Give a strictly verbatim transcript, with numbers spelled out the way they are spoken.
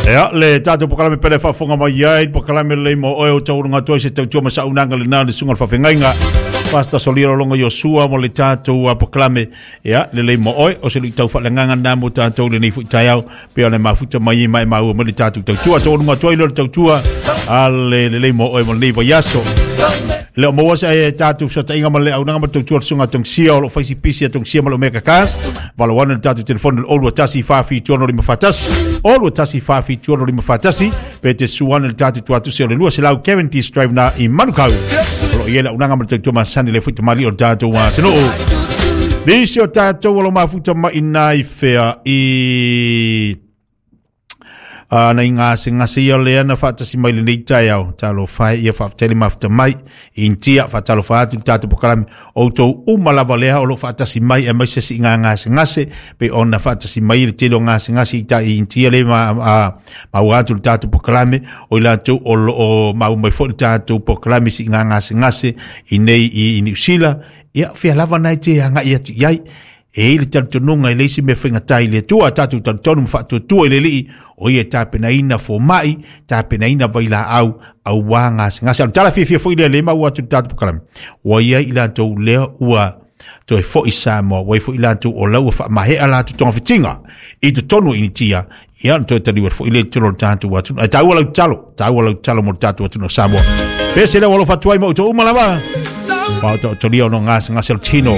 Ia le tatou pokalame pele faafofoga mai ai pokalame lelei mo oe o tauuluga atu ai se tautua ma saunaga lena le susuga o le faafegaiga Pastor Solia Lolonga Iosua mo le tatou pokalame. Ia lelei mo oe o se luitau faaleagaga lena mo tatou lenei foi taeao pe o le mafuta mai ma e maua mai le tatou tautua tauuluga atu ai lea o le tautua a le lelei mo oe mo lenei vaiaso. Le o maua se e tatou fesootaiga ma le auaunaga ma le tautua le susuga a Togisia o loo faisi pisi a Togisia ma le Omega Cars. Valo ane le tatou telefoni le olu tasi fa fitu ono lima fatasi olu tasi fa fitu ono lima fatasi pe te suane le tatou tuatusi o le lua selau Kevin Drive na i Manukau o loo i ai le auaunaga ma le tautua masani le foi tamali o le tatou atunuu. Nisi o tatou o lo mafuta mai nai fea i na i gasegase ia lea na faatasi mai lenei taeao talofa e ia faafetai le mafuta mai Initia faatalofa atu le tatou pokalame outou uma lava lea o loo faatasi mai aemaise siiga gasegase pe ona faatasi mai le tele o gasegase i tai Initia le ma maua atu le tatou pokalame o i latou o loo maua mai foi le tatou pokalame siiga gasegase i nei i Niu Sila. Ia fia lava nai te agai atu i ai e i le talitonuga e leai se mea faigata i le Atua tatou talitonu ma faatuatua i le Alii o ia e tapenaina fomai tapenaina vailaau auā gasegase. A o le tala fiafia foi lea le maua atu le tatou pokalame ua iai i latou lea ua toe foi Samoa ua i foi latou o lau ua faamahea latou togafitiga i totonu o Initia. Ia ona toe taliu atu foi lea i totonu o le tatou atunuu. Ae taua lau tatalo, taua lau tatalo mo le tatou atunuu o Samoa. Pese lea ua alofa atu ai ma outou uma lava ma o taotolia ona gasegase o le tino.